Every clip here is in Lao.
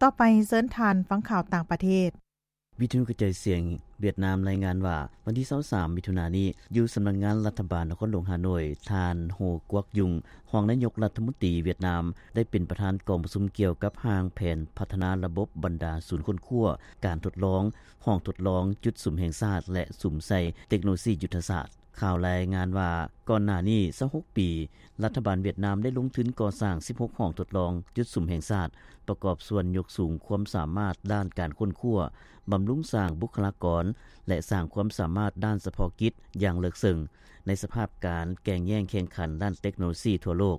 ຕໍ່ໄປເຊີນທ່ານຟັງຂ່າວຕ່າງປະເທດ. ວິທະຍຸກະຈາຍສຽງຫວຽດນາມລາຍງານວ່າ ວັນທີຊາວສາມ ມິຖຸນານີ້ ຢູ່ສຳນັກງານລັດຖະບານນະຄອນຫຼວງຮ່າໂນ້ຍ, ທ່ານ ໂຮ ກວກຍຸງ ຮອງນາຍົກລັດຖະມົນຕີຫວຽດນາມ ໄດ້ເປັນປະທານກອງປະຊຸມກ່ຽວກັບຮ່າງແຜນພັດທະນາລະບົບບັນດາສູນຄົ້ນຄວ້າ, ການທົດລອງ, ຫ້ອງທົດລອງ, ຈຸດສຸມແຫ່ງຊາດ ແລະ ສຸມໃສ່ເຕັກໂນໂລຊີຍຸດທະສາດ. ຂ່າວລາຍງານວ່າ ກ່ອນໜ້ານີ້ຊາວຫົກປີ, ລັດຖະບານຫວຽດນາມໄດ້ລົງທຶນກໍ່ສ້າງສິບຫົກຫ້ອງທົດລອງຈຸດສຸມແຫ່ງຊາດ, ປະກອບສ່ວນຍົກສູງຄວາມສາມາດດ້ານການຄົ້ນຄວ້າ, ບຳລຸງສ້າງບຸກຄະລາກອນ ແລະ ສ້າງຄວາມສາມາດດ້ານສະເພາະກິດຢ່າງເລິກເຊິ່ງ. ໃນສະພາບການແກ່ງແຍ່ງແຂ່ງຂັນດ້ານເຕັກໂນໂລຊີທົ່ວໂລກ,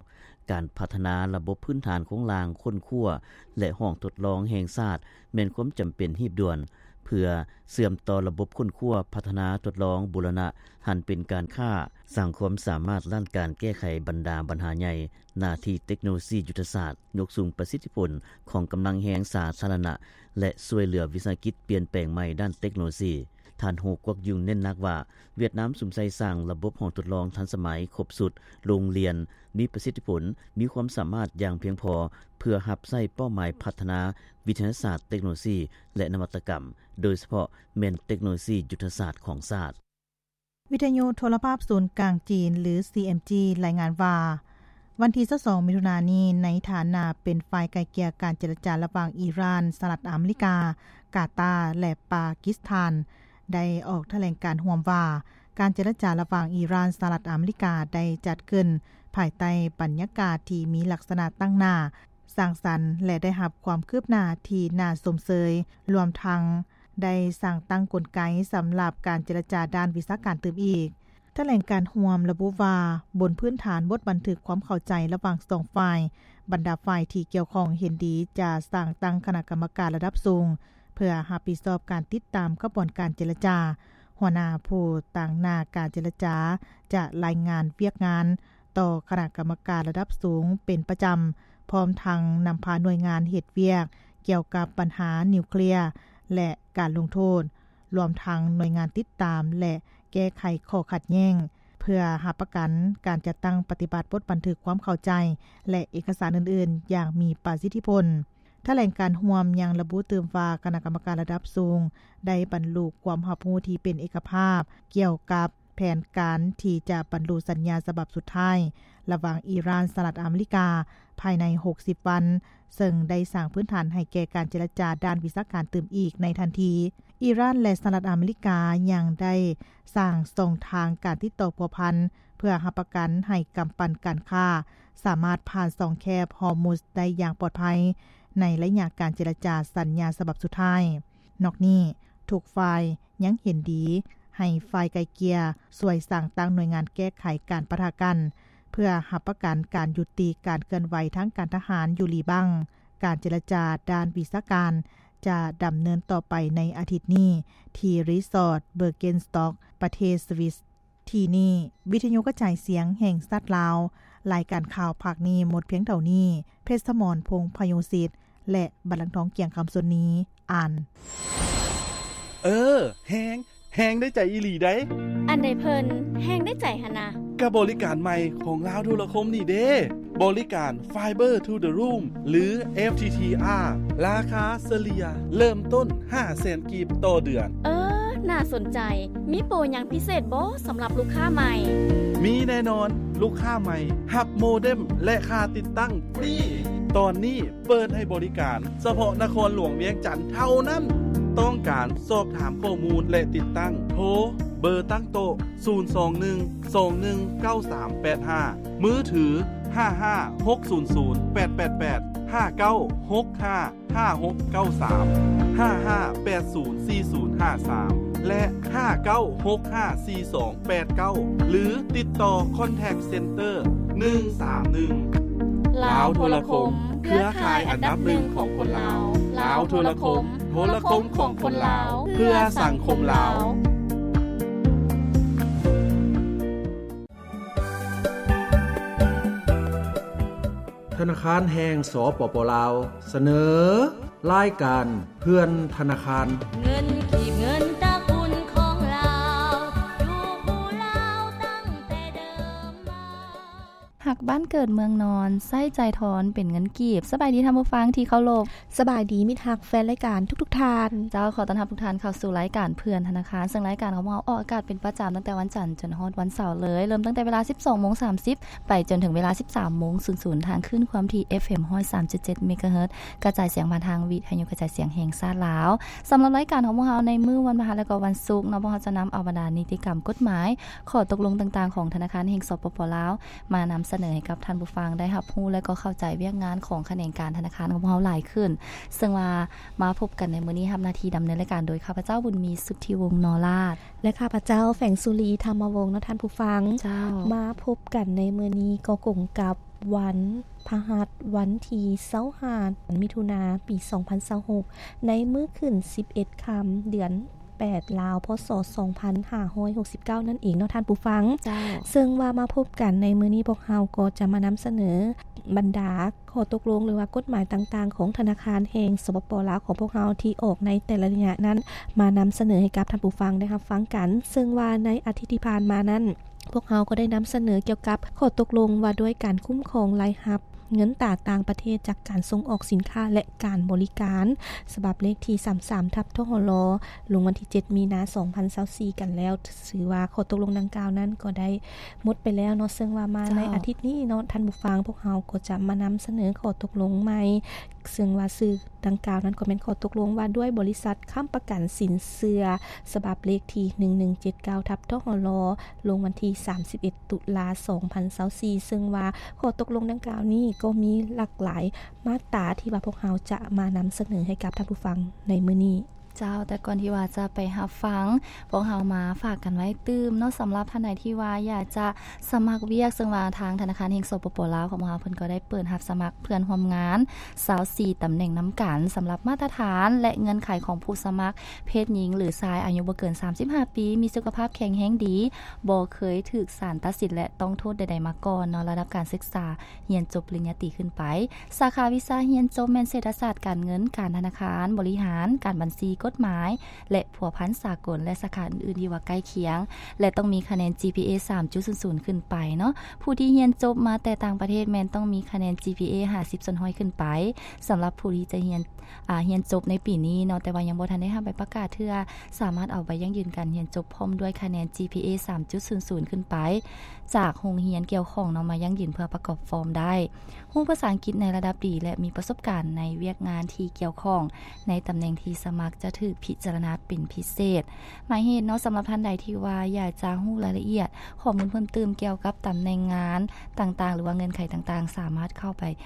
ການພັດທະນາລະບົບພື້ນຖານໂຄງລ່າງຄົ້ນຄວ້າ ແລະ ຫ້ອງທົດລອງແຫ່ງຊາດ ແມ່ນຄວາມຈຳເປັນຮີບດ່ວນ ເພື່ອເຊື່ອມຕໍ່ລະບົບຄົ້ນຄວ້າ, ພັດທະນາ, ທົດລອງ, ບູລະນະຫັນເປັນການຄ້າ, ສ້າງຄວາມສາມາດດ້ານການແກ້ໄຂບັນດາບັນຫາໃຫຍ່, ໜ້າທີ່ເຕັກໂນໂລຊີຍຸດທະສາດ, ຍົກສູງປະສິດທິຜົນຂອງກຳລັງແຮງສາທາລະນະ ແລະ ຊ່ວຍເຫຼືອວິສາຫະກິດປ່ຽນແປງໃໝ່ດ້ານເຕັກໂນໂລຊີ. ທ່ານ ໂຮ ກວກຍຸງ ເນັ້ນໜັກວ່າ ຫວຽດນາມສຸມໃສ່ສ້າງລະບົບຫ້ອງທົດລອງທັນສະໄໝ, ຄົບຊຸດ, ໂຮງຮຽນ, ມີປະສິດທິຜົນ, ມີຄວາມສາມາດຢ່າງພຽງພໍ ເພື່ອຮັບໃຊ້ເປົ້າໝາຍພັດທະນາວິທະຍາສາດ, ເຕັກໂນໂລຊີ ແລະ ນະວັດຕະກຳ, ໂດຍສະເພາະແມ່ນເຕັກໂນໂລຊີຍຸດທະສາດຂອງຊາດ. ວິທະຍຸໂທລະພາບສູນກາງຈີນ ຫຼື ຊີເອັມຈີ ລາຍງານວ່າ ວັນທີຊາວສອງ ມິຖຸນານີ້ ໃນຖານະເປັນຝ່າຍໄກ່ເກ່ຍການເຈລະຈາລະຫວ່າງອີຣານ, ສະຫະລັດອາເມລິກາ, ກາຕາ ແລະ ປາກິສຖານ ໄດ້ອອກຖະແຫຼງການຮ່ວມວ່າ ການເຈລະຈາລະຫວ່າງອີຣານ, ສະຫະລັດອາເມລິກາ ໄດ້ຈັດຂຶ້ນພາຍໃຕ້ບັນຍາກາດທີ່ມີລັກສະນະຕັ້ງໜ້າ ສ້າງສັນ ແລະ ໄດ້ຮັບຄວາມຄືບໜ້າທີ່ໜ້າຊົມເຊີຍ, ລວມທັງໄດ້ສ້າງຕັ້ງກົນໄກສຳລັບການເຈລະຈາດ້ານວິຊາການຕື່ມອີກ. ຖະແຫຼງການຮ່ວມລະບຸວ່າ, ບົນພື້ນຖານບົດບັນທຶກຄວາມເຂົ້າໃຈລະຫວ່າງສອງຝ່າຍ, ບັນດາຝ່າຍທີ່ກ່ຽວຂ້ອງເຫັນດີຈະສ້າງຕັ້ງຄະນະກຳມະການລະດັບສູງ ເພື່ອຮັບຜິດຊອບການຕິດຕາມຂະບວນການເຈລະຈາ. ຫົວໜ້າຜູ້ຕາງໜ້າການເຈລະຈາຈະລາຍງານວຽກງານ ຕໍ່ຄະນະກຳມະການລະດັບສູງເປັນປະຈຳ, ພ້ອມທັງນຳພາໜ່ວຍງານເຮັດວຽກກ່ຽວກັບບັນຫານິວເຄລຍ ແລະ ການລົງໂທດ, ລວມທັງໜ່ວຍງານຕິດຕາມ ແລະ ແກ້ໄຂຂໍ້ຂັດແຍ້ງ, ເພື່ອຮັບປະກັນການຈັດຕັ້ງປະຕິບັດບົດບັນທຶກຄວາມເຂົ້າໃຈ ແລະ ເອກະສານອື່ນໆຢ່າງມີປະສິດທິຜົນ. ຖະແຫຼງການຮ່ວມຍັງລະບຸຕື່ມວ່າ ຄະນະກຳມະການລະດັບສູງໄດ້ບັນລຸຄວາມຮັບຮູ້ທີ່ເປັນເອກະພາບກ່ຽວກັບ ແຜນການທີ່ຈະບັນລຸສັນຍາສະບັບສຸດທ້າຍລະຫວ່າງອີຣານ ສະຫະລັດອາເມລິກາ ພາຍໃນຫົກສິບວັນ, ເຊິ່ງໄດ້ສ້າງພື້ນຖານໃຫ້ແກ່ການເຈລະຈາດ້ານວິຊາການຕື່ມອີກໃນທັນທີ. ອີຣານ ແລະ ສະຫະລັດອາເມລິກາຍັງໄດ້ສ້າງຊ່ອງທາງການຕິດຕໍ່ພົວພັນ ເພື່ອຮັບປະກັນໃຫ້ກຳປັ່ນການຄ້າສາມາດຜ່ານຊ່ອງແຄບຮອຣ໌ມຸດໄດ້ຢ່າງປອດໄພ ໃນໄລຍະການເຈລະຈາສັນຍາສະບັບສຸດທ້າຍ. ນອກນີ້, ທຸກຝ່າຍຍັງເຫັນດີໃຫ້ຝ່າຍໄກ່ເກ່ຍຊ່ວຍສ້າງຕັ້ງໜ່ວຍງານແກ້ໄຂການປະທະກັນ ເພື່ອຮັບປະກັນການຍຸຕິການເຄື່ອນໄຫວທາງການທະຫານຢູ່ຫຼີບັງ. ການເຈລະຈາດ້ານວິຊາການຈະດຳເນີນຕໍ່ໄປໃນອາທິດນີ້ ທີ່ຣີສອດເບີເກນສະຕັອກ ປະເທດສະວິສ. ທີ່ນີ້ ວິທະຍຸກະຈາຍສຽງແຫ່ງຊາດລາວ. ລາຍການຂ່າວພາກນີ້ໝົດພຽງເທົ່ານີ້. ເພັດສະໝອນ ພົງພະໂຍສິດ ແລະ ບັນລັງທອງ ກຽງຄຳ ຊົນນີ ອ່ານ. ເອີ ແຮງ ແຮງໄດ້ໃຈອີ່ຫຼີໃດ໋. ອັນໃດເພິ່ນແຮງໄດ້ໃຈຫັ້ນນະ? ກະບໍລິການໃໝ່ຂອງລາວໂທລະຄົມນີ້ເດ້. ບໍລິການ Fiber to the Room ຫຼື ເອັຟທີທີອາ ລາຄາສະເລ່ຍເລີ່ມຕົ້ນຫ້າແສນກີບຕໍ່ເດືອນ. ເອີ ໜ້າສົນໃຈ. ມີໂປຫຍັງພິເສດບໍ່ສຳລັບລູກຄ້າໃໝ່? ມີແນ່ນອນ. ລູກຄ້າໃໝ່ຮັບໂມເດັມ ແລະ ຄ່າຕິດຕັ້ງຟຣີ. ຕອນນີ້ເປີດໃຫ້ບໍລິການສະເພາະນະຄອນຫຼວງວຽງຈັນເທົ່ານັ້ນ. ຕ້ອງການສອບຖາມຂໍ້ມູນ ແລະ ຕິດຕັ້ງ? ໂທເບີຕັ້ງໂຕະ ສູນສອງໜຶ່ງ ສອງໜຶ່ງ ເກົ້າສາມແປດຫ້າ, ມືຖື ຫ້າຫ້າຫົກສູນສູນແປດແປດແປດ, ຫ້າເກົ້າຫົກຫ້າຫ້າຫົກເກົ້າສາມ, ຫ້າຫ້າແປດສູນສີ່ສູນຫ້າສາມ ແລະ ຫ້າເກົ້າຫົກຫ້າສີ່ສອງແປດເກົ້າ ຫຼື ຕິດຕໍ່ Contact Center ໜຶ່ງສາມໜຶ່ງ. ລາວໂທລະຄົມ ເຄືອຂ່າຍອັນດັບໜຶ່ງຂອງຄົນລາວ. ລາວໂທລະຄົມ ໂທລະຄົມຂອງຄົນລາວ ເພື່ອສັງຄົມລາວ. ທະນາຄານແຫ່ງ ສປປ ລາວ ສະເໜີ ລາຍການເພື່ອນທະນາຄານ. ເງິນກີບ ເງິນຕະກຸນຂອງລາວ ຢູ່ຄູ່ລາວຕັ້ງແຕ່ເດີມມາ. ຫາກ ບ້ານເກີດເມືອງນອນ ໃຊ້ຈ່າຍທອນເປັນເງິນກີບ. ສະບາຍດີທ່ານຜູ້ຟັງທີ່ເຄົາລົບ. ສະບາຍດີມິດຮັກແຟນລາຍການທຸກໆທ່ານ. ເຈົ້າ, ຂໍຕ້ອນຮັບທຸກທ່ານເຂົ້າສູ່ລາຍການເພື່ອນທະນາຄານ, ເຊິ່ງລາຍການຂອງພວກເຮົາອອກອາກາດເປັນປະຈຳຕັ້ງແຕ່ວັນຈັນຈົນຮອດວັນເສົາເລີຍ, ເລີ່ມຕັ້ງແຕ່ເວລາສິບສອງໂມງສາມສິບ ໄປຈົນເຖິງເວລາສິບສາມໂມງສູນສູນ ທາງຄື້ນຄວາມຖີ່ ເອຟເອັມຮ້ອຍສາມຈຸດເຈັດເມກາເຮີດ ກະຈາຍສຽງຜ່ານທາງວິທະຍຸກະຈາຍສຽງແຫ່ງຊາດລາວ. ສຳລັບລາຍການຂອງພວກເຮົາໃນມື້ວັນພະຫັດ ແລະ ກໍວັນສຸກເນາະ, ພວກເຮົາຈະນຳເອົາບັນດານິຕິກຳ, ກົດໝາຍ, ຂໍ້ຕົກລົງຕ່າງໆຂອງທະນາຄານແຫ່ງ ສປປ ລາວ ມານຳສະເໜີໃຫ້ກັບທ່ານຜູ້ຟັງໄດ້ຮັບຮູ້ ແລະ ກໍເຂົ້າໃຈວຽກງານຂອງຂະແໜງການທະນາຄານຂອງພວກເຮົາຫຼາຍຂຶ້ນ. ເຊິ່ງວ່າມາພົບກັນໃນມື້ນີ້, ຮັບໜ້າທີ່ດຳເນີນລາຍການໂດຍຂ້າພະເຈົ້າ ບຸນມີ ສຸດທິວົງ ນໍລາດ ແລະ ຂ້າພະເຈົ້າ ແຝງສຸລີ ທຳມະວົງ ເນາະທ່ານຜູ້ຟັງ. ເຈົ້າ, ມາພົບກັນໃນມື້ນີ້ກໍກົງກັບວັນພະຫັດ ວັນທີຊາວຫ້າ ມິຖຸນາ ປີສອງພັນຊາວຫົກ ໃນມື້ຂຶ້ນສິບເອັດຄ່ຳ ເດືອນແປດລາວ ພ.ສ. ສອງພັນຫ້າຮ້ອຍຫົກສິບເກົ້ານັ້ນເອງເນາະທ່ານຜູ້ຟັງ. ເຈົ້າ, ເຊິ່ງວ່າມາພົບກັນໃນມື້ນີ້ ພວກເຮົາກໍຈະມານຳສະເໜີບັນດາ ຂໍ້ຕົກລົງ ຫຼືວ່າກົດໝາຍຕ່າງໆຂອງທະນາຄານແຫ່ງ ສປປ ລາວ ຂອງພວກເຮົາທີ່ອອກໃນແຕ່ລະໄລຍະນັ້ນ ມານຳສະເໜີໃຫ້ກັບທ່ານຜູ້ຟັງໄດ້ຮັບຟັງກັນ. ເຊິ່ງວ່າໃນອາທິດທີ່ຜ່ານມານັ້ນ ພວກເຮົາກໍໄດ້ນຳສະເໜີກ່ຽວກັບຂໍ້ຕົກລົງວ່າດ້ວຍການຄຸ້ມຄອງລາຍຮັບເງິນຕາຕ່າງປະເທດຈາກການສົ່ງອອກສິນຄ້າ ແລະ ການບໍລິການ ສະບັບເລກທີສາມສິບສາມ ທັບ ທຫລ ລົງວັນທີເຈັດ ມີນາ ສອງພັນຊາວສີ່ກັນແລ້ວ. ຖືວ່າຂໍ້ຕົກລົງດັ່ງກ່າວນັ້ນກໍໄດ້ໝົດໄປແລ້ວເນາະ. ເຊິ່ງວ່າມາໃນອາທິດນີ້ເນາະທ່ານຜູ້ຟັງ, ພວກເຮົາກໍຈະມານຳສະເໜີຂໍ້ຕົກລົງໃໝ່ ເຊິ່ງວ່າຊື່ດັ່ງກ່າວນັ້ນກໍແມ່ນຂໍ້ຕົກລົງວ່າດ້ວຍບໍລິສັດຄ້ຳປະກັນສິນເຊື່ອ ສະບັບເລກທີໜຶ່ງໜຶ່ງເຈັດເກົ້າ ທັບ ທຫລ ລົງວັນທີສາມສິບເອັດ ຕຸລາ ສອງພັນຊາວສີ່ ເຊິ່ງວ່າຂໍ້ຕົກລົງດັ່ງກ່າວນີ້ກໍມີຫຼາກຫຼາຍມາດຕາທີ່ວ່າພວກເຮົາຈະມານຳສະເໜີໃຫ້ກັບທ່ານຜູ້ຟັງໃນມື້ນີ້. ເຈົ້າ, ແຕ່ກ່ອນທີ່ວ່າຈະໄປຮັບຟັງ, ພວກເຮົາມາຝາກກັນໄວ້ຕື່ມເນາະ, ສຳລັບທ່ານໃດທີ່ວ່າຢາກຈະສະໝັກວຽກ, ເຊິ່ງວ່າທາງທະນາຄານແຫ່ງ ສປປ ລາວ ຂອງພວກເຮົາ ເພິ່ນກໍໄດ້ເປີດຮັບສະໝັກເພື່ອນຮ່ວມງານຊາວສີ່ຕຳແໜ່ງນຳກັນ. ສຳລັບມາດຕະຖານ ແລະ ເງື່ອນໄຂຂອງຜູ້ສະໝັກ ເພດຍິງ ຫຼື ຊາຍ ອາຍຸບໍ່ເກີນສາມສິບຫ້າປີ, ມີສຸຂະພາບແຂງແຮງດີ, ບໍ່ເຄີຍຖືກສານຕັດສິນ ແລະ ຕ້ອງໂທດໃດໆມາກ່ອນເນາະ, ລະດັບການສຶກສາ ຮຽນຈົບປະລິນຍາຕີຂຶ້ນໄປ. ສາຂາວິຊາຮຽນຈົບແມ່ນເສດຖະສາດການເງິນ, ການທະນາຄານ, ບໍລິຫານ, ການບັນຊີ, ກົດໝາຍ ແລະ ພົວພັນສາກົນ ແລະ ສາຂາອື່ນໆທີ່ວ່າໃກ້ຄຽງ ແລະ ຕ້ອງມີຄະແນນ ຈີພີເອ ສາມຈຸດສູນສູນຂຶ້ນໄປເນາະ. ຜູ້ທີ່ຮຽນຈົບມາແຕ່ຕ່າງປະເທດແມ່ນຕ້ອງມີຄະແນນ ຈີພີເອ ຫ້າສິບສ່ວນຮ້ອຍຂຶ້ນໄປ. ສຳລັບຜູ້ທີ່ຈະຮຽນ ອາ ຮຽນຈົບໃນປີນີ້ເນາະ, ແຕ່ວ່າຍັງບໍ່ທັນໄດ້ຮັບໃບປະກາດເທື່ອ, ສາມາດເອົາໃບຢັ້ງຢືນການຮຽນຈົບພ້ອມດ້ວຍຄະແນນ ຈີພີເອ ສາມຈຸດສູນສູນຂຶ້ນໄປ ຈາກໂຮງຮຽນກ່ຽວຂ້ອງເນາະ ມາຢັ້ງຢືນເພື່ອປະກອບຟອມໄດ້. ຮູ້ພາສາອັງກິດໃນລະດັບດີ ແລະ ມີປະສົບການໃນວຽກງານທີ່ກ່ຽວຂ້ອງໃນຕຳແໜ່ງທີ່ສະໝັກຈະຖືກພິຈາລະນາເປັນພິເສດ. ໝາຍເຫດເນາະ, ສຳລັບທ່ານໃດທີ່ວ່າຢາກຈະຮູ້ລາຍລະອຽດ, ຂໍ້ມູນເພີ່ມຕື່ມກ່ຽວກັບຕຳແໜ່ງງານຕ່າງໆ ຫຼືວ່າເງື່ອນໄຂຕ່າງໆ, ສາມາດເຂົ້າໄປ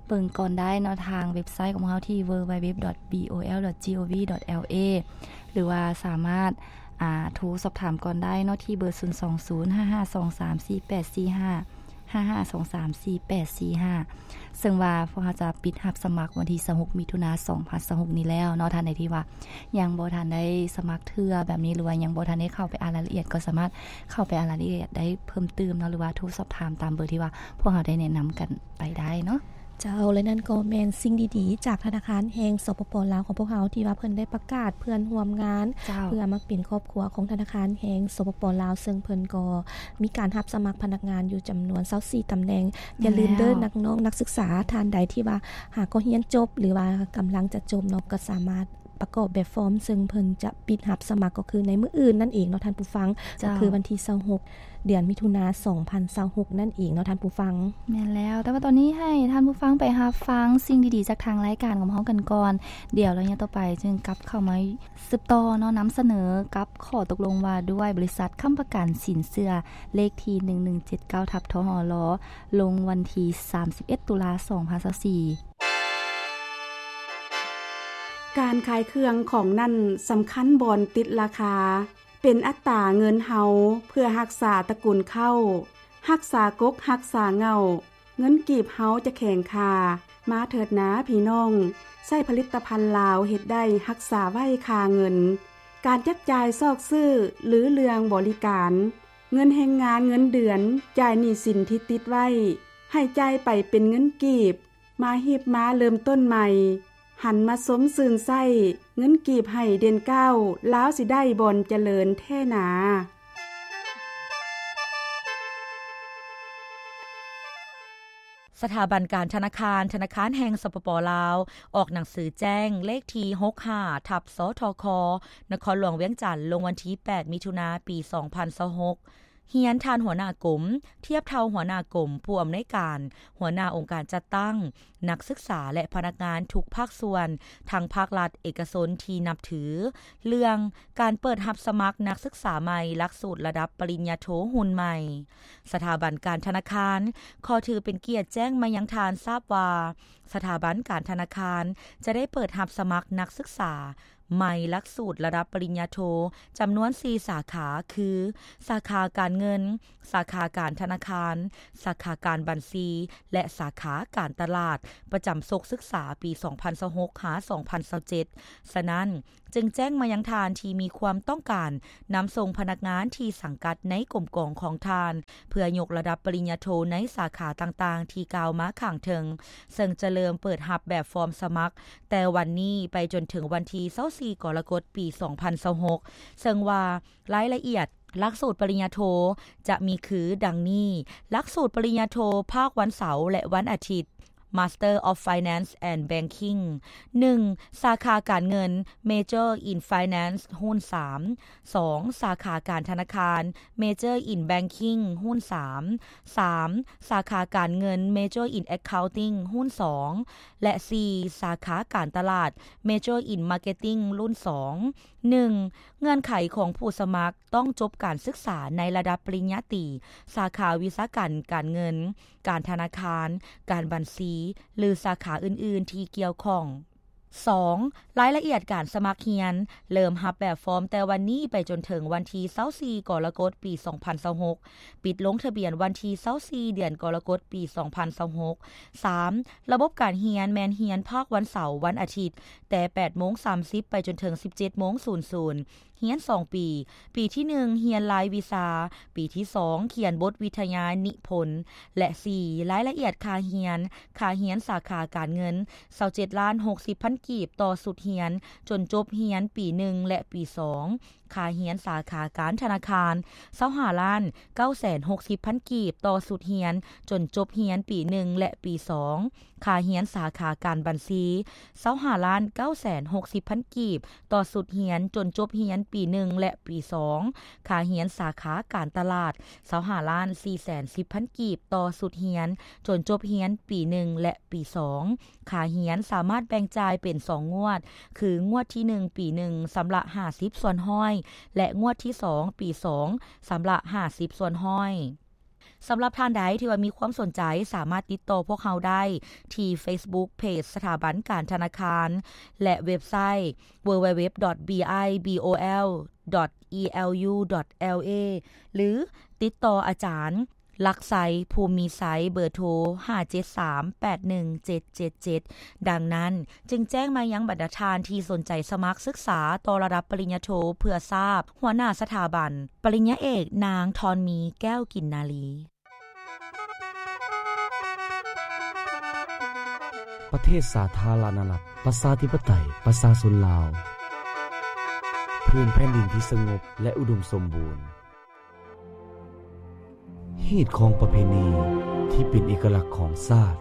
ເບິ່ງກ່ອນໄດ້ເນາະ ທາງເວັບໄຊຂອງເຮົາທີ່ www.bol.gov.la ຫຼືວ່າສາມາດ ອາ ໂທສອບຖາມກ່ອນໄດ້ເນາະ ທີ່ເບີ ສູນສອງສູນ ຫ້າຫ້າສອງສາມ ສີ່ແປດສີ່ຫ້າ ຫ້າຫ້າສອງສາມ ສີ່ແປດສີ່ຫ້າ ເຊິ່ງວ່າພວກເຮົາຈະປິດຮັບສະໝັກວັນທີຊາວຫົກ ມິຖຸນາ ສອງພັນຊາວຫົກນີ້ແລ້ວເນາະ. ທ່ານໃດທີ່ວ່າຍັງບໍ່ທັນໄດ້ສະໝັກເທື່ອແບບນີ້ ຫຼືວ່າຍັງບໍ່ທັນໄດ້ເຂົ້າໄປອ່ານລາຍລະອຽດ ກໍສາມາດເຂົ້າໄປອ່ານລາຍລະອຽດໄດ້ເພີ່ມຕື່ມເນາະ ຫຼືວ່າໂທສອບຖາມຕາມເບີທີ່ວ່າພວກເຮົາໄດ້ແນະນຳກັນໄປໄດ້ເນາະ. ເຈົ້າ ແລະ ນັ້ນກໍແມ່ນສິ່ງດີໆຈາກທະນາຄານແຫ່ງ ສປປ ລາວ ຂອງພວກເຮົາ ທີ່ວ່າເພິ່ນໄດ້ປະກາດເພື່ອນຮ່ວມງານ ເພື່ອມາເປັນຄອບຄົວຂອງທະນາຄານແຫ່ງ ສປປ ລາວ ເຊິ່ງເພິ່ນກໍມີການຮັບສະໝັກພະນັກງານຢູ່ຈຳນວນຊາວສີ່ຕຳແໜ່ງ. ຢ່າລືມເດີ ແມ່ນແລ້ວ ນັກນ້ອງນັກສຶກສາທ່ານໃດທີ່ວ່າຫາກໍຮຽນຈົບ ຫຼືວ່າກຳລັງຈະຈົບເນາະ ກໍສາມາດປະກອບແບບຟອມ ເຊິ່ງເພິ່ນຈະປິດຮັບສະໝັກ ກໍຄືໃນມື້ອື່ນນັ້ນເອງເນາະທ່ານຜູ້ຟັງ. ເຈົ້າ ກໍຄືວັນທີຊາວຫົກ ເດືອນມິຖຸນາ ສອງພັນຊາວຫົກນັ້ນເອງເນາະທ່ານຜູ້ຟັງ. ແມ່ນແລ້ວ, ແຕ່ວ່າຕອນນີ້ໃຫ້ທ່ານຜູ້ຟັງໄປຮັບຟັງສິ່ງດີໆຈາກທາງລາຍການຂອງເຮົາກັນກ່ອນ. ດຽວໄລຍະຕໍ່ໄປຈຶ່ງກັບເຂົ້າມາສືບຕໍ່ເນາະ, ນຳສະເໜີກັບຂໍ້ຕົກລົງວ່າດ້ວຍບໍລິສັດຄ້ຳປະກັນສິນເຊື່ອ ເລກທີໜຶ່ງໜຶ່ງເຈັດເກົ້າ ທັບ ທຫລ ລົງວັນທີສາມສິບເອັດ ຕຸລາ ສອງພັນຊາວສີ່. ການຂາຍເຄື່ອງຂອງນັ້ນສຳຄັນບ່ອນຕິດລາຄາ. ເປັນອັດຕາເງິນເຮົາເພື່ອຮັກສາຕະກຸນເຄົ້າ, ຮັກສາກົກຮັກສາເຫງົ້າ, ເງິນກີບເຮົາຈະແຂງຄ່າ. ມາເຖີດນາພີ່ນ້ອງ, ໃຊ້ຜະລິດຕະພັນລາວເຮັດໄດ້ຮັກສາໄວ້ຄ່າເງິນ. ການຈັບຈ່າຍຊອກຊື້ ຫຼື ເລື່ອງບໍລິການ, ເງິນແຮງງານເງິນເດືອນ, ຈ່າຍໜີ້ສິນທີ່ຕິດໄວ້, ໃຫ້ຈ່າຍໄປເປັນເງິນກີບ. ມາຮີບມາເລີ່ມຕົ້ນໃໝ່, ຫັນມາຊົມຊື່ນໃຊ້, ເງິນກີບໃຫ້ເດັ່ນກ້າວ, ລາວຊິໄດ້ບ່ອນຈະເລີນແທ້ໜາ. ສະຖາບັນການທະນາຄານ ທະນາຄານແຫ່ງ ສປປ ລາວ ອອກໜັງສືແຈ້ງເລກທີຫົກຫ້າ ທັບ ສທຄ ນະຄອນຫຼວງວຽງຈັນ ລົງວັນທີແປດ ມິຖຸນາ ປີສອງພັນຊາວຫົກ ຮຽນທ່ານຫົວໜ້າກົມ, ທຽບເທົ່າຫົວໜ້າກົມ, ຜູ້ອຳນວຍການ, ຫົວໜ້າອົງການຈັດຕັ້ງ, ນັກສຶກສາ ແລະ ພະນັກງານທຸກພາກສ່ວນ ທັງພາກລັດ, ເອກະຊົນທີ່ນັບຖື ເລື່ອງການເປີດຮັບສະໝັກນັກສຶກສາໃໝ່ຫຼັກສູດລະດັບປະລິນຍາໂທຮຸ່ນໃໝ່. ສະຖາບັນການທະນາຄານຂໍຖືເປັນກຽດແຈ້ງມາຍັງທ່ານຊາບວ່າ ສະຖາບັນການທະນາຄານຈະໄດ້ເປີດຮັບສະໝັກນັກສຶກສາໃໝ່ຫຼັກສູດລະດັບປະລິນຍາໂທຈຳນວນສີ່ສາຂາ ຄື ສາຂາການເງິນ, ສາຂາການທະນາຄານ, ສາຂາການບັນຊີ ແລະ ສາຂາການຕະຫຼາດ ປະຈຳສົກສຶກສາປີສອງພັນຊາວຫົກ ຫາ ສອງພັນຊາວເຈັດ. ສະນັ້ນ, ຈຶ່ງແຈ້ງມາຍັງທ່ານທີ່ມີຄວາມຕ້ອງການນຳສົ່ງພະນັກງານທີ່ສັງກັດໃນກົມກອງຂອງທ່ານ ເພື່ອຍົກລະດັບປະລິນຍາໂທໃນສາຂາຕ່າງໆທີ່ກ່າວມາຂ້າງເທິງ, ເຊິ່ງຈະເລີ່ມເປີດຮັບແບບຟອມສະໝັກແຕ່ວັນນີ້ໄປຈົນເຖິງວັນທີຊາວສີ່ ກໍລະກົດ ປີສອງພັນຊາວຫົກ ເຊິ່ງວ່າລາຍລະອຽດຫຼັກສູດປະລິນຍາໂທຈະມີຄືດັ່ງນີ້: ຫຼັກສູດປະລິນຍາໂທພາກວັນເສົາ ແລະ ວັນອາທິດ Master of Finance and Banking ໜຶ່ງ ສາຂາການເງິນ Major in Finance ຮຸ່ນສາມ ສອງ ສາຂາການທະນາຄານ Major in Banking ຮຸ່ນສາມ ສາມ ສາຂາການເງິນ Major in Accounting ຮຸ່ນສອງ ແລະ ສີ່ ສາຂາການຕະຫຼາດ Major in Marketing ລຸ້ນສອງ. ໜຶ່ງ ເງື່ອນໄຂຂອງຜູ້ສະໝັກຕ້ອງຈົບການສຶກສາໃນລະດັບປະລິນຍາຕີ ສາຂາວິຊາການການເງິນ, ການທະນາຄານ, ການບັນຊີ ຫຼື ສາຂາອື່ນໆທີ່ກ່ຽວຂ້ອງ. ສອງ ລາຍລະອຽດການສະໝັກຮຽນ ເລີ່ມຮັບແບບຟອມແຕ່ວັນນີ້ໄປຈົນເຖິງວັນທີຊາວສີ່ ກໍລະກົດ ປີສອງພັນຊາວຫົກ ປິດລົງທະບຽນວັນທີຊາວສີ່ ເດືອນກໍລະກົດ ປີສອງພັນຊາວຫົກ. ສາມ ລະບົບການຮຽນແມ່ນຮຽນພາກວັນເສົາ, ວັນອາທິດ ແຕ່ແປດໂມງສາມສິບໄປຈົນເຖິງສິບເຈັດໂມງສູນສູນ ຮຽນສອງປີ, ປີທີໜຶ່ງ ຮຽນລາຍວິຊາ, ປີທີສອງ ຂຽນບົດວິທະຍານິພົນ ແລະ ສີ່ ລາຍລະອຽດຄ່າຮຽນ, ຄ່າຮຽນສາຂາການເງິນ ຊາວເຈັດລ້ານຫົກສິບພັນກີບຕໍ່ຊຸດຮຽນຈົນຈົບຮຽນປີໜຶ່ງ ແລະ ປີສອງ, ຄ່າຮຽນສາຂາການທະນາຄານ ຊາວຫ້າລ້ານເກົ້າແສນຫົກສິບພັນກີບຕໍ່ຊຸດຮຽນຈົນຈົບຮຽນປີໜຶ່ງ ແລະ ປີສອງ, ຄ່າຮຽນສາຂາການບັນຊີ ຊາວຫ້າລ້ານເກົ້າແສນຫົກສິບພັນກີບຕໍ່ຊຸດຮຽນຈົນຈົບຮຽນປີໜຶ່ງ ແລະ ປີສອງ, ຄ່າຮຽນສາຂາການຕະຫຼາດ ຊາວຫ້າລ້ານສີ່ແສນສິບພັນກີບຕໍ່ຊຸດຮຽນຈົນຈົບຮຽນປີໜຶ່ງ ແລະ ປີສອງ. ຄ່າຮຽນສາມາດແບ່ງຈ່າຍເປັນສອງງວດ ຄື ງວດທີໜຶ່ງ ປີໜຶ່ງ ຊຳລະຫ້າສິບສ່ວນຮ້ອຍ ແລະ ງວດທີສອງ ປີສອງ ຊຳລະຫ້າສິບສ່ວນຮ້ອຍ. ສຳລັບທ່ານໃດທີ່ວ່າມີຄວາມສົນໃຈ ສາມາດຕິດຕໍ່ພວກເຮົາໄດ້ທີ່ Facebook Page ສະຖາບັນການທະນາຄານ ແລະ ເວັບໄຊ www.bibol.elu.la ຫຼື ຕິດຕໍ່ອາຈານ ລັກໄຊ ພູມມີໄຊ ເບີໂທ ຫ້າເຈັດສາມແປດໜຶ່ງເຈັດເຈັດເຈັດ. ດັ່ງນັ້ນ, ຈຶ່ງແຈ້ງມາຍັງບັນດາທ່ານທີ່ສົນໃຈສະໝັກສຶກສາຕໍ່ລະດັບປະລິນຍາໂທເພື່ອຊາບ, ຫົວໜ້າສະຖາບັນ ປະລິນຍາເອກ ນາງ ທອນມີ ແກ້ວກິນນາລີ. ປະເທດສາທາລະນະລັດ ປະຊາທິປະໄຕ ປະຊາຊົນລາວ ພື້ນແຜ່ນດິນທີ່ສະຫງົບ ແລະ ອຸດົມສົມບູນ. ຮີດຄອງປະເພນີທີ່ເປັນເອກະລັກຂອງຊາດ.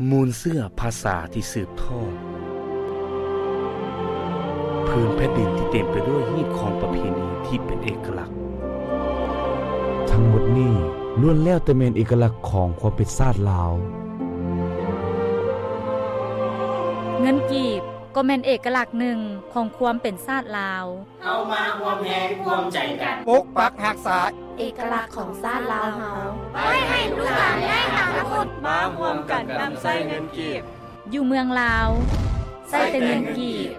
ມູນເຊື້ອພາສາທີ່ສືບທອດ. ພື້ນແຜ່ນດິນທີ່ເຕັມໄປດ້ວຍຮີດຄອງປະເພນີທີ່ເປັນເອກະລັກ. ທັງໝົດນີ້ລ້ວນແລ້ວແຕ່ແມ່ນເອກະລັກຂອງຄວາມເປັນຊາດລາວ. ເງິນກີບກໍແມ່ນເອກະລັກໜຶ່ງຂອງຄວາມເປັນຊາດລາວ. ເຮົາມາຮ່ວມແຮງຮ່ວມໃຈກັນ ປົກປັກຮັກສາເອກະລັກຂອງຊາດລາວເຮົາ ໄວ້ໃຫ້ລູກຫຼານແລະອະນາຄົດ ມາຮ່ວມກັນນຳໃຊ້ເງິນກີບ ຢູ່ເມືອງລາວ ໃຊ້ແຕ່ເງິນກີບ.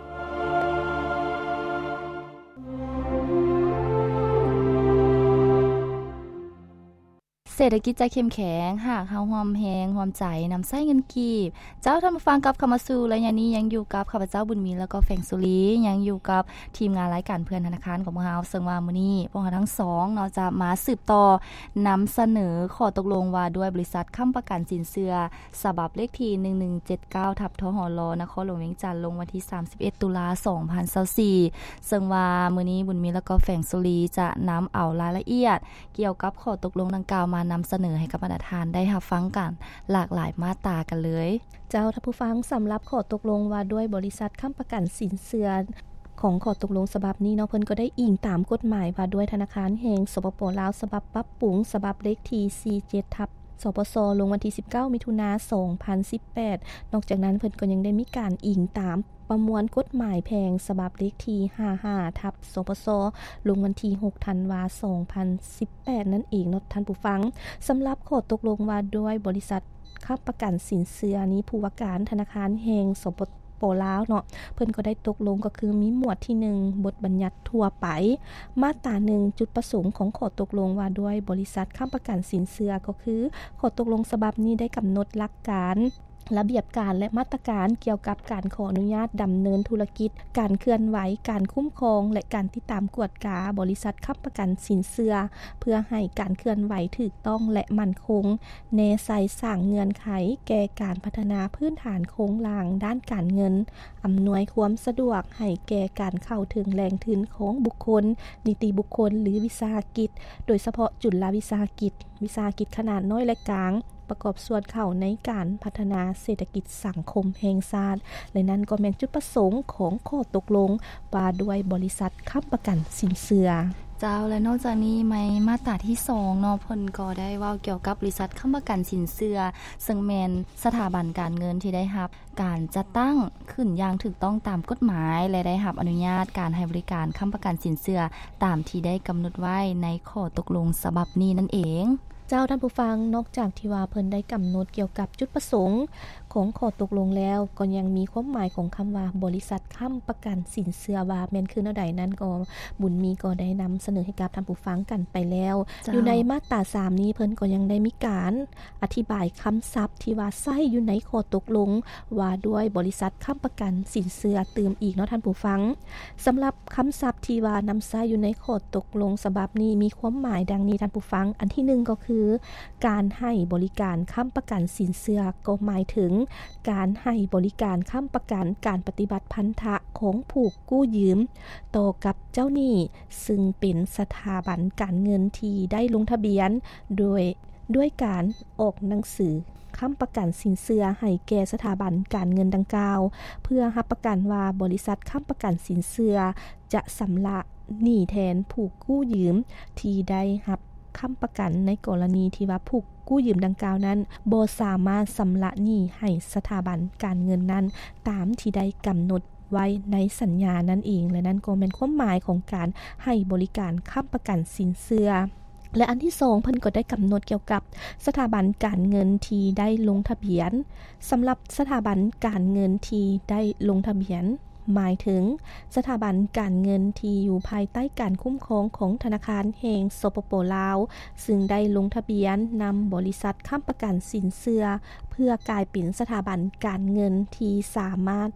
ເສດຖະກິດຈະເຂັ້ມແຂງ ຫາກເຮົາຮ່ວມແຮງຮ່ວມໃຈນຳໃຊ້ເງິນກີບ. ເຈົ້າ, ທ່ານຜູ້ຟັງ, ກັບເຂົ້າມາສູ່ໄລຍະນີ້ ຍັງຢູ່ກັບຂ້າພະເຈົ້າ ບຸນມີ ແລ້ວກໍແຟງສຸລີ, ຍັງຢູ່ກັບທີມງານລາຍການເພື່ອນທະນາຄານຂອງພວກເຮົາ, ເຊິ່ງວ່າມື້ນີ້ພວກເຮົາທັງສອງເນາະ ຈະມາສືບຕໍ່ນຳສະເໜີຂໍ້ຕົກລົງວ່າດ້ວຍບໍລິສັດຄ້ຳປະກັນສິນເຊື່ອ ສະບັບເລກທີໜຶ່ງໜຶ່ງເຈັດເກົ້າ ທັບ ທຫລ ນະຄອນຫຼວງວຽງຈັນ ລົງວັນທີສາມສິບເອັດ ຕຸລາ ສອງພັນຊາວສີ່ ເຊິ່ງວ່າມື້ນີ້ບຸນມີ ແລ້ວກໍແຟງສຸລີ ຈະນຳເອົາລາຍລະອຽດກ່ຽວກັບຂໍ້ຕົກລົງດັ່ງກ່າວມາ ນຳສະເໜີໃຫ້ກັບບັນດາທ່ານໄດ້ຮັບຟັງກັນຫຼາກຫຼາຍມາດຕາກັນເລີຍ. ເຈົ້າ ທ່ານຜູ້ຟັງ, ສຳລັບຂໍ້ຕົກລົງວ່າດ້ວຍບໍລິສັດຄ້ຳປະກັນສິນເຊື່ອ ຂອງຂໍ້ຕົກລົງສະບັບນີ້ເນາະ ເພິ່ນກໍໄດ້ອີງຕາມກົດໝາຍວ່າດ້ວຍທະນາຄານແຫ່ງ ສປປ ລາວ ສະບັບປັບປຸງ ສະບັບເລກທີສີ່ເຈັດ ທັບ ສປສ ລົງວັນທີສິບເກົ້າ ມິຖຸນາ ສອງພັນສິບແປດ. ນອກຈາກນັ້ນ ເພິ່ນກໍຍັງໄດ້ມີການອີງຕາມປະມວນກົດໝາຍແພ່ງ ສະບັບເລກທີຫ້າຫ້າ ທັບ ສປສ ລົງວັນທີຫົກ ທັນວາ ສອງພັນສິບແປດ ນັ້ນເອງເນາະທ່ານຜູ້ຟັງ. ສຳລັບຂໍ້ຕົກລົງວ່າດ້ວຍບໍລິສັດ ຄ້ຳປະກັນສິນເຊື່ອນີ້ ຜູ້ວ່າການທະນາຄານແຫ່ງ ສປປ ລາວ ເນາະ ເພິ່ນກໍໄດ້ຕົກລົງ ກໍຄືມີໝວດທີໜຶ່ງ ບົດບັນຍັດທົ່ວໄປ ມາດຕາໜຶ່ງ ຈຸດປະສົງຂອງຂໍ້ຕົກລົງວ່າດ້ວຍບໍລິສັດຄ້ຳປະກັນສິນເຊື່ອ ກໍຄືຂໍ້ຕົກລົງສະບັບນີ້ໄດ້ກຳນົດຫຼັກການ, ລະບຽບການ ແລະ ມາດຕະການກ່ຽວກັບການຂໍອະນຸຍາດດຳເນີນທຸລະກິດ, ການເຄື່ອນໄຫວ, ການຄຸ້ມຄອງ ແລະ ການຕິດຕາມກວດກາບໍລິສັດຄ້ຳປະກັນສິນເຊື່ອ ເພື່ອໃຫ້ການເຄື່ອນໄຫວຖືກຕ້ອງ ແລະ ໝັ້ນຄົງ. ແນໃສ່ສ້າງເງື່ອນໄຂແກ່ການພັດທະນາພື້ນຖານໂຄງລ່າງດ້ານການເງິນ, ອຳນວຍຄວາມສະດວກໃຫ້ແກ່ການເຂົ້າເຖິງແຫຼ່ງທຶນຂອງບຸກຄົນ, ນິຕິບຸກຄົນ ຫຼື ວິສາຫະກິດ, ໂດຍສະເພາະຈຸລະວິສາຫະກິດ, ວິສາຫະກິດຂະໜາດນ້ອຍ ແລະ ກາງ, ປະກອບສ່ວນເຂົ້າໃນການພັດທະນາເສດຖະກິດສັງຄົມແຫ່ງຊາດ ແລະ ນັ້ນກໍແມ່ນຈຸດປະສົງຂອງຂໍ້ຕົກລົງວ່າດ້ວຍບໍລິສັດຄ້ຳປະກັນສິນເຊື່ອ. ເຈົ້າ ແລະ ນອກຈາກນີ້ໃນມາດຕາທີສອງເນາະ ເພິ່ນກໍໄດ້ເວົ້າກ່ຽວກັບບໍລິສັດຄ້ຳປະກັນສິນເຊື່ອ ເຊິ່ງແມ່ນສະຖາບັນການເງິນທີ່ໄດ້ຮັບການຈັດຕັ້ງຂຶ້ນຢ່າງຖືກຕ້ອງຕາມກົດໝາຍ ແລະ ໄດ້ຮັບອະນຸຍາດການໃຫ້ບໍລິການຄ້ຳປະກັນສິນເຊື່ອຕາມທີ່ໄດ້ກຳນົດໄວ້ໃນຂໍ້ຕົກລົງສະບັບນີ້ນັ້ນເອງ. ເຈົ້າ ທ່ານຜູ້ຟັງ, ນອກຈາກທີ່ວ່າເພິ່ນໄດ້ກຳນົດກ່ຽວກັບຈຸດປະສົງຂອງຂໍ້ຕົກລົງແລ້ວ ກໍຍັງມີຄວາມໝາຍຂອງຄຳວ່າບໍລິສັດຄ້ຳປະກັນສິນເຊື່ອວ່າແມ່ນຄືແນວໃດນັ້ນ ກໍບຸນມີກໍໄດ້ນຳສະເໜີໃຫ້ກັບທ່ານຜູ້ຟັງກັນໄປແລ້ວ. ເຈົ້າ ຢູ່ໃນມາດຕາສາມນີ້ ເພິ່ນກໍຍັງໄດ້ມີການອະທິບາຍຄຳສັບທີ່ວ່າໃຊ້ຢູ່ໃນຂໍ້ຕົກລົງວ່າດ້ວຍບໍລິສັດຄ້ຳປະກັນສິນເຊື່ອຕື່ມອີກເນາະທ່ານຜູ້ຟັງ. ສຳລັບຄຳສັບທີ່ວ່ານຳໃຊ້ຢູ່ໃນຂໍ້ຕົກລົງສະບັບນີ້ ມີຄວາມໝາຍດັ່ງນີ້ທ່ານຜູ້ຟັງ. ອັນທີໜຶ່ງກໍຄື ການໃຫ້ບໍລິການຄ້ຳປະກັນສິນເຊື່ອ ກໍໝາຍເຖິງການໃຫ້ບໍລິການຄ້ຳປະກັນການປະຕິບັດພັນທະຂອງຜູ້ກູ້ຢືມຕໍ່ກັບເຈົ້າໜີ້ ຊຶ່ງເປັນສະຖາບັນການເງິນທີ່ໄດ້ລົງທະບຽນ ໂດຍ ດ້ວຍການອອກໜັງສືຄ້ຳປະກັນສິນເຊື່ອໃຫ້ແກ່ສະຖາບັນການເງິນດັ່ງກ່າວ ເພື່ອຮັບປະກັນວ່າບໍລິສັດຄ້ຳປະກັນສິນເຊື່ອຈະຊຳລະໜີ້ແທນຜູ້ກູ້ຢືມທີ່ໄດ້ຮັບຄ້ຳປະກັນ ໃນກໍລະນີທີ່ວ່າຜູ້ກູ້ຢືມດັ່ງກ່າວນັ້ນບໍ່ສາມາດຊຳລະໜີ້ໃຫ້ສະຖາບັນການເງິນນັ້ນຕາມທີ່ໄດ້ກຳນົດໄວ້ໃນສັນຍານັ້ນເອງ ແລະ ນັ້ນກໍແມ່ນຄວາມໝາຍຂອງການໃຫ້ບໍລິການຄ້ຳປະກັນສິນເຊື່ອ. ແລະ ອັນທີສອງ ເພິ່ນກໍໄດ້ກຳນົດກ່ຽວກັບສະຖາບັນການເງິນທີ່ໄດ້ລົງທະບຽນ. ສຳລັບສະຖາບັນການເງິນທີ່ໄດ້ລົງທະບຽນ ໝາຍເຖິງສະຖາບັນການເງິນທີ່ຢູ່ພາຍໃຕ້ການຄຸ້ມຄອງຂອງທະນາຄານແຫ່ງ ສປປ ລາວ ຊຶ່ງໄດ້ລົງທະບຽນນຳບໍລິສັດຄ້ຳປະກັນສິນເຊື່ອ ເພື່ອກາຍເປັນສະຖາບັນການເງິນທີ່ສາມາດ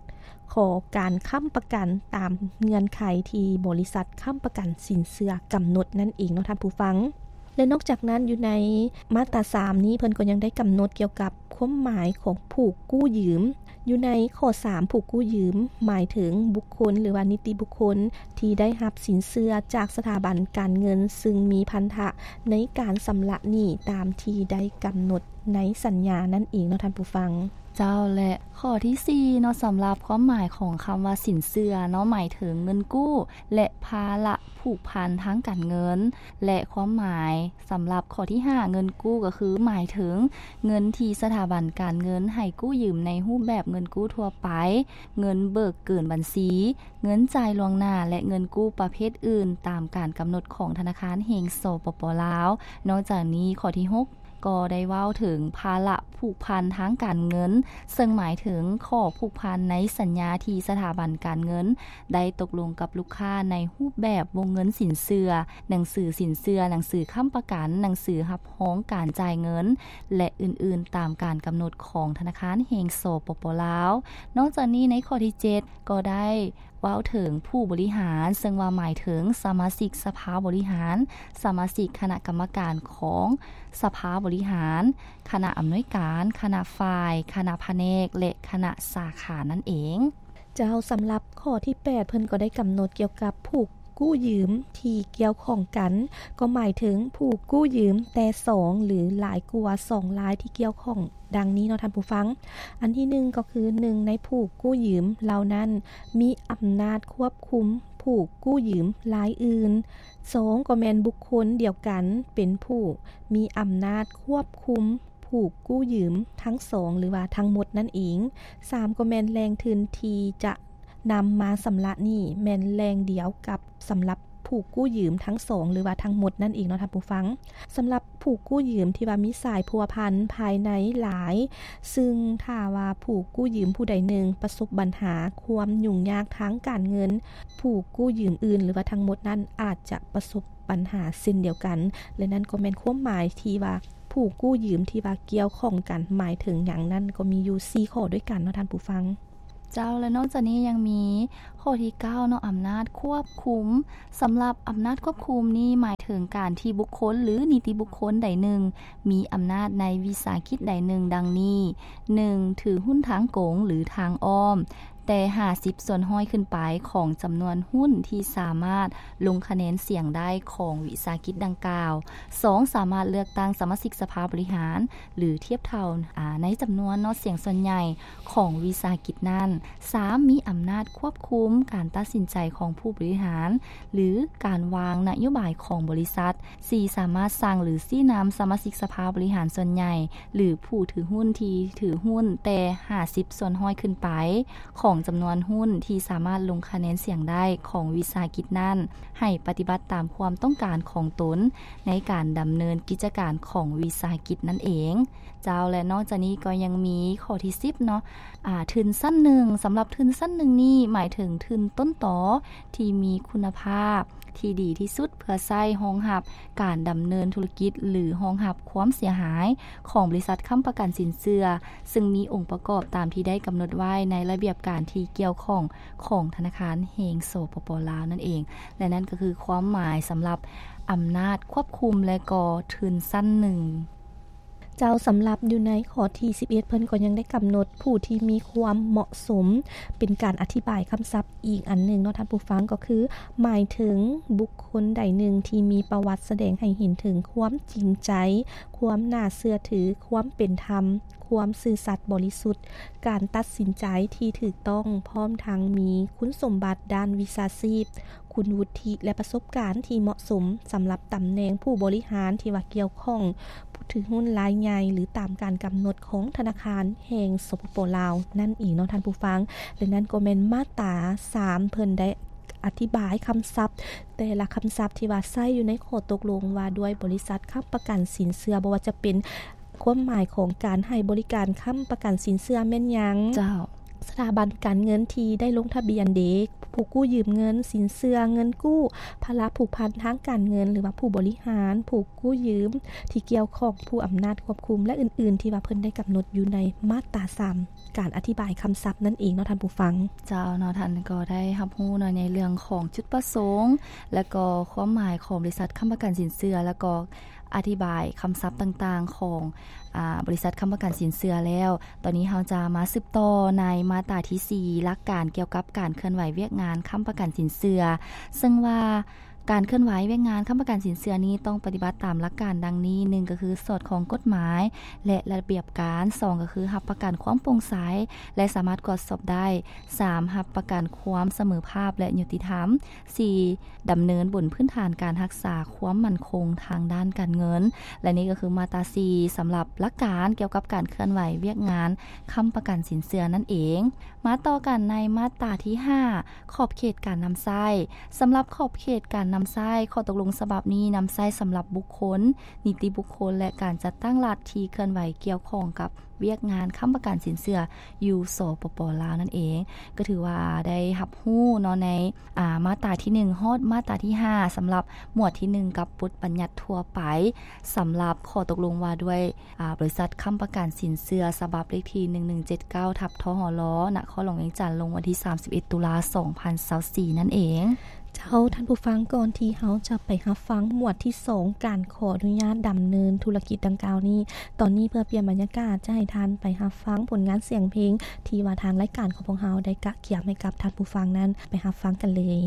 ຂໍການຄ້ຳປະກັນຕາມເງື່ອນໄຂທີ່ບໍລິສັດຄ້ຳປະກັນສິນເຊື່ອກຳນົດນັ້ນເອງເນາະທ່ານຜູ້ຟັງ. ແລະ ນອກຈາກນັ້ນ ຢູ່ໃນມາດຕາສາມນີ້ ເພິ່ນກໍຍັງໄດ້ກຳນົດກ່ຽວກັບຄວາມໝາຍຂອງຜູ້ກູ້ຢືມ. ຢູ່ໃນຂໍ້ສາມ ຜູ້ກູ້ຢືມ ໝາຍເຖິງບຸກຄົນ ຫຼືວ່ານິຕິບຸກຄົນທີ່ໄດ້ຮັບສິນເຊື່ອຈາກສະຖາບັນການເງິນ ຊຶ່ງມີພັນທະໃນການຊຳລະໜີ້ຕາມທີ່ໄດ້ກຳນົດໃນສັນຍານັ້ນເອງເນາະທ່ານຜູ້ຟັງ. ເຈົ້າ ແລະ ຂໍ້ທີສີ່ເນາະ ສຳລັບຄວາມໝາຍຂອງຄຳວ່າສິນເຊື່ອເນາະ ໝາຍເຖິງເງິນກູ້ ແລະ ພາລະຜູກພັນທາງການເງິນ ແລະ ຄວາມໝາຍສຳລັບຂໍ້ທີຫ້າ ເງິນກູ້ ກໍຄືໝາຍເຖິງເງິນທີ່ສະຖາບັນການເງິນໃຫ້ກູ້ຢືມໃນຮູບແບບເງິນກູ້ທົ່ວໄປ, ເງິນເບີກເກີນບັນຊີ, ເງິນຈ່າຍລ່ວງໜ້າ ແລະ ເງິນກູ້ປະເພດອື່ນ ຕາມການກຳນົດຂອງທະນາຄານແຫ່ງ ສປປ ລາວ. ນອກຈາກນີ້ ຂໍ້ທີຫົກ ກໍໄດ້ເວົ້າເຖິງພາລະຜູກພັນທາງການເງິນ ເຊິ່ງໝາຍເຖິງຂໍ້ຜູກພັນໃນສັນຍາທີ່ສະຖາບັນການເງິນໄດ້ຕົກລົງກັບລູກຄ້າໃນຮູບແບບວົງເງິນສິນເຊື່ອ, ໜັງສືສິນເຊື່ອ, ໜັງສືຄ້ຳປະກັນ, ໜັງສືຮັບຮອງການຈ່າຍເງິນ ແລະ ອື່ນໆ ຕາມການກຳນົດຂອງທະນາຄານແຫ່ງ ສປປ ລາວ. ນອກຈາກນີ້ ໃນຂໍ້ທີເຈັດ ກໍໄດ້ ເວົ້າເຖິງຜູ້ບໍລິຫານ ເຊິ່ງວ່າໝາຍເຖິງສະມາຊິກສະພາບໍລິຫານ, ສະມາຊິກຄະນະກຳມະການຂອງສະພາບໍລິຫານ, ຄະນະອຳນວຍການ, ຄະນະຝ່າຍ, ຄະນະພະແນກ ແລະ ຄະນະສາຂານັ້ນເອງ. ເຈົ້າ, ສຳລັບຂໍ້ທີແປດ ເພິ່ນກໍໄດ້ກຳນົດກ່ຽວກັບຜູ້ ກູ້ຢືມທີ່ກ່ຽວຂ້ອງກັນ ກໍໝາຍເຖິງຜູ້ກູ້ຢືມແຕ່ສອງ ຫຼື ຫຼາຍກວ່າສອງລາຍທີ່ກ່ຽວຂ້ອງ ດັ່ງນີ້ເນາະທ່ານຜູ້ຟັງ. ອັນທີໜຶ່ງກໍຄື ໜຶ່ງໃນຜູ້ກູ້ຢືມເຫຼົ່ານັ້ນມີອຳນາດຄວບຄຸມຜູ້ກູ້ຢືມລາຍອື່ນ. ສອງກໍແມ່ນບຸກຄົນດຽວກັນເປັນຜູ້ມີອຳນາດຄວບຄຸມຜູ້ກູ້ຢືມທັງສອງ ຫຼືວ່າທັງໝົດນັ້ນເອງ. ສາມກໍແມ່ນແຫຼ່ງທຶນທີ່ຈະນຳມາຊຳລະໜີ້ແມ່ນແຫຼ່ງດຽວກັບສຳລັບຜູ້ກູ້ຢືມທັງສອງ ຫຼືວ່າທັງໝົດນັ້ນເອງເນາະທ່ານຜູ້ຟັງ. ສຳລັບຜູ້ກູ້ຢືມທີ່ວ່າມີສາຍພົວພັນພາຍໃນຫຼາຍ ຊຶ່ງຖ້າວ່າຜູ້ກູ້ຢືມຜູ້ໃດໜຶ່ງປະສົບບັນຫາຄວາມຫຍຸ້ງຍາກທາງການເງິນ ຜູ້ກູ້ຢືມອື່ນ ຫຼືວ່າທັງໝົດນັ້ນອາດຈະປະສົບບັນຫາເຊັ່ນດຽວກັນ. ແລະນັ້ນກໍແມ່ນຄວາມໝາຍທີ່ວ່າຜູ້ກູ້ຢືມທີ່ວ່າກ່ຽວຂ້ອງກັນໝາຍເຖິງຫຍັງນັ້ນ ກໍມີຢູ່ສີ່ຂໍ້ດ້ວຍກັນເນາະທ່ານຜູ້ຟັງ. ເຈົ້າ ແລະນອກຈາກນີ້ຍັງມີຂໍ້ທີເກົ້າເນາະ ອຳນາດຄວບຄຸມ. ສຳລັບອຳນາດຄວບຄຸມນີ້ໝາຍເຖິງການທີ່ບຸກຄົນ ຫຼື ນິຕິບຸກຄົນໃດໜຶ່ງ ມີອຳນາດໃນວິສາຫະກິດໃດໜຶ່ງ ດັ່ງນີ້: ໜຶ່ງ ຖືຫຸ້ນທາງກົງ ຫຼື ທາງອ້ອມ ແຕ່ຫ້າສິບສ່ວນຮ້ອຍຂຶ້ນໄປຂອງຈຳນວນຫຸ້ນທີ່ສາມາດລົງຄະແນນສຽງໄດ້ຂອງວິສາຫະກິດດັ່ງກ່າວ. ສອງ ສາມາດເລືອກຕັ້ງສະມາຊິກສະພາບໍລິຫານ ຫຼື ທຽບເທົ່າ ອາ ໃນຈຳນວນເນາະ ສຽງສ່ວນໃຫຍ່ຂອງວິສາຫະກິດນັ້ນ. ສາມ ມີອຳນາດຄວບຄຸມການຕັດສິນໃຈຂອງຜູ້ບໍລິຫານ ຫຼື ການວາງນະໂຍບາຍຂອງບໍລິສັດ. ສີ່ ສາມາດສັ່ງ ຫຼື ຊີ້ນຳສະມາຊິກສະພາບໍລິຫານສ່ວນໃຫຍ່ ຫຼື ຜູ້ຖືຫຸ້ນທີ່ຖືຫຸ້ນແຕ່ຫ້າສິບສ່ວນຮ້ອຍຂຶ້ນໄປຂອງຈຳນວນຫຸ້ນທີ່ສາມາດລົງຄະແນນສຽງໄດ້ຂອງວິສາຫະກິດນັ້ນ ໃຫ້ປະຕິບັດຕາມຄວາມຕ້ອງການຂອງຕົນໃນການດຳເນີນກິດຈະການຂອງວິສາຫະກິດນັ້ນເອງ. ເຈົ້າ ແລະນອກຈາກນີ້ກໍຍັງມີຂໍ້ທີສິບເນາະ ອາ ທຶນຊັ້ນໜຶ່ງ. ສຳລັບທຶນຊັ້ນໜຶ່ງນີ້ໝາຍເຖິງທຶນຕົ້ນຕໍທີ່ມີຄຸນນະພາບ ທີ່ດີທີ່ສຸດເພື່ອໃຊ້ຮອງຮັບການດຳເນີນທຸລະກິດ ຫຼື ຮອງຮັບຄວາມເສຍຫາຍຂອງບໍລິສັດຄ້ຳປະກັນສິນເຊື່ອ ຊຶ່ງມີອົງປະກອບຕາມທີ່ໄດ້ກຳນົດໄວ້ໃນລະບຽບການທີ່ກ່ຽວຂ້ອງຂອງທະນາຄານແຫ່ງ ສປປ ລາວ ນັ້ນເອງ. ແລະນັ້ນກໍຄືຄວາມໝາຍສຳລັບອຳນາດຄວບຄຸມ ແລະກໍທຶນຊັ້ນໜຶ່ງ. ເຈົ້າ ສຳລັບຢູ່ໃນຂໍ້ທີສິບເອັດ ເພິ່ນກໍຍັງໄດ້ກຳນົດຜູ້ທີ່ມີຄວາມເໝາະສົມ ເປັນການອະທິບາຍຄຳສັບອີກອັນໜຶ່ງເນາະທ່ານຜູ້ຟັງ ກໍຄືໝາຍເຖິງບຸກຄົນໃດໜຶ່ງທີ່ມີປະຫວັດສະແດງໃຫ້ເຫັນເຖິງຄວາມຈິງໃຈ, ຄວາມໜ້າເຊື່ອຖື, ຄວາມເປັນທຳ, ຄວາມຊື່ສັດບໍລິສຸດ, ການຕັດສິນໃຈທີ່ຖືກຕ້ອງ, ພ້ອມທັງມີຄຸນສົມບັດດ້ານວິຊາຊີບ, ຄຸນວຸດທິ ແລະ ປະສົບການທີ່ເໝາະສົມສຳລັບຕຳແໜ່ງຜູ້ບໍລິຫານທີ່ວ່າກ່ຽວຂ້ອງຜູ້ຖືຫຸ້ນລາຍໃຫຍ່ ຫຼື ຕາມການກຳນົດຂອງທະນາຄານແຫ່ງ ສປປ ລາວ ນັ້ນເອງເນາະທ່ານຜູ້ຟັງ. ແລະນັ້ນກໍແມ່ນມາດຕາສາມ ເພິ່ນໄດ້ອະທິບາຍຄຳສັບ ແຕ່ລະຄຳສັບທີ່ວ່າໃຊ້ຢູ່ໃນຂໍ້ຕົກລົງວ່າດ້ວຍບໍລິສັດຄ້ຳປະກັນສິນເຊື່ອ ບໍ່ວ່າຈະເປັນຄວາມໝາຍຂອງການໃຫ້ບໍລິການຄ້ຳປະກັນສິນເຊື່ອແມ່ນຫຍັງ? ເຈົ້າ. ສະຖາບັນການເງິນທີ່ໄດ້ລົງທະບຽນເດ, ຜູ້ກູ້ຢືມເງິນ, ສິນເຊື່ອ, ເງິນກູ້, ພາລະຜູກພັນທາງການເງິນ ຫຼືວ່າຜູ້ບໍລິຫານ, ຜູ້ກູ້ຢືມທີ່ກ່ຽວຂ້ອງ, ຜູ້ອຳນາດຄວບຄຸມ ແລະ ອື່ນໆ ທີ່ວ່າເພິ່ນໄດ້ກຳນົດຢູ່ໃນມາດຕາສາມ ການອະທິບາຍຄຳສັບນັ້ນເອງເນາະທ່ານຜູ້ຟັງ. ເຈົ້າເນາະ, ທ່ານກໍໄດ້ຮັບຮູ້ເນາະ ໃນເລື່ອງຂອງຈຸດປະສົງ ແລະກໍຄວາມໝາຍຂອງບໍລິສັດຄ້ຳປະກັນສິນເຊື່ອ ແລະກໍ ອະທິບາຍຄຳສັບຕ່າງໆຂອງ ອາ ບໍລິສັດຄ້ຳປະກັນສິນເຊື່ອແລ້ວ, ຕອນນີ້ເຮົາຈະມາສືບຕໍ່ໃນມາດຕາທີສີ່ ຫຼັກການກ່ຽວກັບການເຄື່ອນໄຫວວຽກງານຄ້ຳປະກັນສິນເຊື່ອ, ເຊິ່ງວ່າການເຄື່ອນໄຫວວຽກງານຄ້ຳປະກັນສິນເຊື່ອນີ້ຕ້ອງປະຕິບັດຕາມຫຼັກການດັ່ງນີ້, ໜຶ່ງ ກໍຄືສອດຄ່ອງກົດໝາຍ ແລະ ລະບຽບການ, ສອງ ກໍຄືຮັບປະກັນຄວາມໂປ່ງໃສ ແລະ ສາມາດກວດສອບໄດ້, ສາມ ຮັບປະກັນຄວາມສະເໝີພາບ ແລະ ຍຸຕິທຳ, ສີ່ ດຳເນີນບົນພື້ນຖານການຮັກສາຄວາມໝັ້ນຄົງທາງດ້ານການເງິນ. ແລະ ນີ້ກໍຄືມາດຕາສີ່ ສຳລັບຫຼັກການກ່ຽວກັບການເຄື່ອນໄຫວວຽກງານຄ້ຳປະກັນສິນເຊື່ອນັ້ນເອງ. ມາຕໍ່ກັນໃນມາດຕາທີຫ້າ ຂອບເຂດການນຳໃຊ້. ສຳລັບຂອບເຂດການນຳໃຊ້, ຂໍ້ຕົກລົງສະບັບນີ້ນຳໃຊ້ສຳລັບບຸກຄົນ, ນິຕິບຸກຄົນ ແລະ ການຈັດຕັ້ງລັດທີ່ເຄື່ອນໄຫວກ່ຽວຂ້ອງກັບ ວຽກງານຄ້ຳປະກັນສິນເຊື່ອຢູ່ ສປປ ລາວ ນັ້ນເອງ. ກໍຖືວ່າໄດ້ຮັບຮູ້ເນາະ ໃນ ອາ ມາດຕາທີໜຶ່ງ ຮອດມາດຕາທີຫ້າ ສຳລັບໝວດທີໜຶ່ງ ກັບບົດບັນຍັດທົ່ວໄປ ສຳລັບຂໍ້ຕົກລົງວ່າດ້ວຍ ອາ ບໍລິສັດຄ້ຳປະກັນສິນເຊື່ອ ສະບັບເລກທີ ໜຶ່ງໜຶ່ງເຈັດເກົ້າ ທັບ ທຫລ ນະຄອນຫຼວງວຽງຈັນ ລົງວັນທີ ສາມສິບເອັດ ຕຸລາ ສອງພັນຊາວສີ່ ນັ້ນເອງ. ເຈົ້າ ທ່ານຜູ້ຟັງ, ກ່ອນທີ່ເຮົາຈະໄປຮັບຟັງໝວດທີສອງ ການຂໍອະນຸຍາດດຳເນີນທຸລະກິດດັ່ງກ່າວນີ້, ຕອນນີ້ເພື່ອປ່ຽນບັນຍາກາດ ຈະໃຫ້ທ່ານໄປຮັບຟັງຜົນງານສຽງເພງ ທີ່ວ່າທາງລາຍການຂອງພວກເຮົາໄດ້ກະກຽມໃຫ້ກັບທ່ານຜູ້ຟັງນັ້ນ, ໄປຮັບຟັງກັນເລີຍ.